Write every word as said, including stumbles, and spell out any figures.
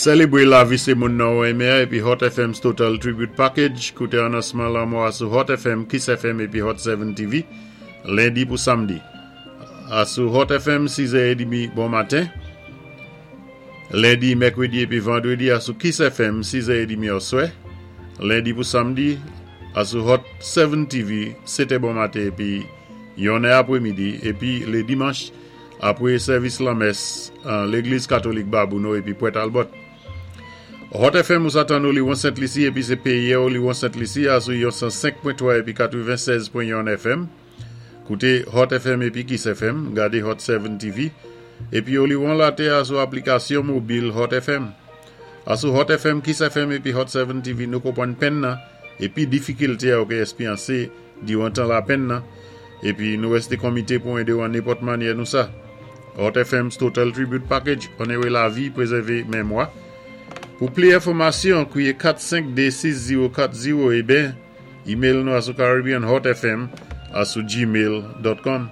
Sélébwé lavi sé moun nan ou enmé épi Hot F M's Total Tribute Package. Kouté anonsman lanmò a sou Hot F M, Kiss F M épi Hot sept T V, lendi pou samdi. A sou Hot F M, sis è trant bon maten. Lendi, mèkwédi épi vandwédi a sou Kiss F M, sis è trant oswè. Lendi pou samdi, a sou Hot sept T V, sèt è bon maten épi yon è apwémidi. Épi lé dimanch, apwé sèvis lanmès an Légliz Katolik Babouno épi Port Talbot. Hot F M ou sa tann ou Liwon Sent Lisi épi sé péyi ou Liwon Sent Lisi a sou yon san senk pwen twa épi katwennsèz pwen yon F M. Kouté Hot F M épi Kiss F M, gadé Hot sept T V, épi ou liwon latè a sou aplikasyon mobil Hot F M. A sou Hot F M, Kiss F M épi Hot sept T V, nou konpwann penn nan, épi difikilte a ou ké éspéryansé diwan tan lapenn nan, épi nou wésté konmité pou édé ou an nenpòt mannyè nou sa. Hot F M's Total Tribute Package, onoré lavi, pwézèvé mémwa. Pou pli enfòmasyon, kwiyé kat senk de sis zewo kat zewo é ben, email nou a sou Caribbean Hot F M a sou gmail dot com.